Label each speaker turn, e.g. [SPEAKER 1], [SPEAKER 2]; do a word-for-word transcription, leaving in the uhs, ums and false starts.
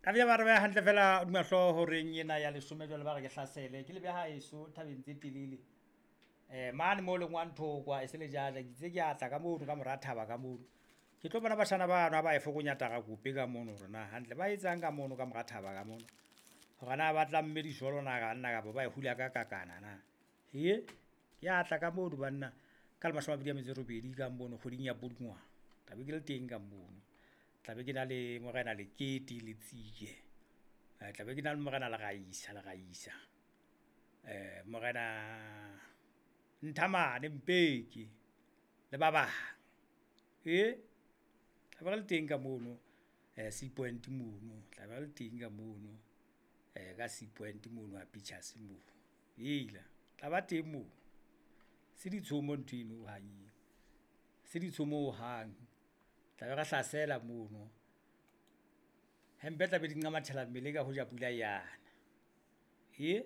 [SPEAKER 1] Taba ba re beha hantle fela hodima hlooho horeng ena ya leshome jwale ba re ke hlasele ke lebe haeso thabeng tse telele. Eh mane mo lengwang thokwa e se le jaja ke itse ke atla ka mono ka mora thaba ka mono. Ke tlo bona bashana bano ha ba e fokonya tarakope ka mono hore na hantle ba etsang ka mono ka mora thaba ka mono. Hore na ba tlamme dijolo na banna kapa ba e hula ka kakana na. Hee, ke atla ka mono banna ka le mashome a mabedi a metso e robedi ka mono kgweding ya Pudungwana. Tla be ke le teng ka mono. Tla be ke na le morena Lekete Letsie, tla be ke na le morena Leraisa Leraisa, eh morena Nthamane Mpeke le ba bang. E tla be re le teng ka mono Sea Point mono, tla be re le teng ka mono ka Sea Point mono ha Pictures mono. Hela tla ba teng moo, se ditshomo ntho eno hohang eo, se ditshomo hohang. Tla be re hlasela mono, hempe tla be di nqamathela mmele ka hoja pula yana. E.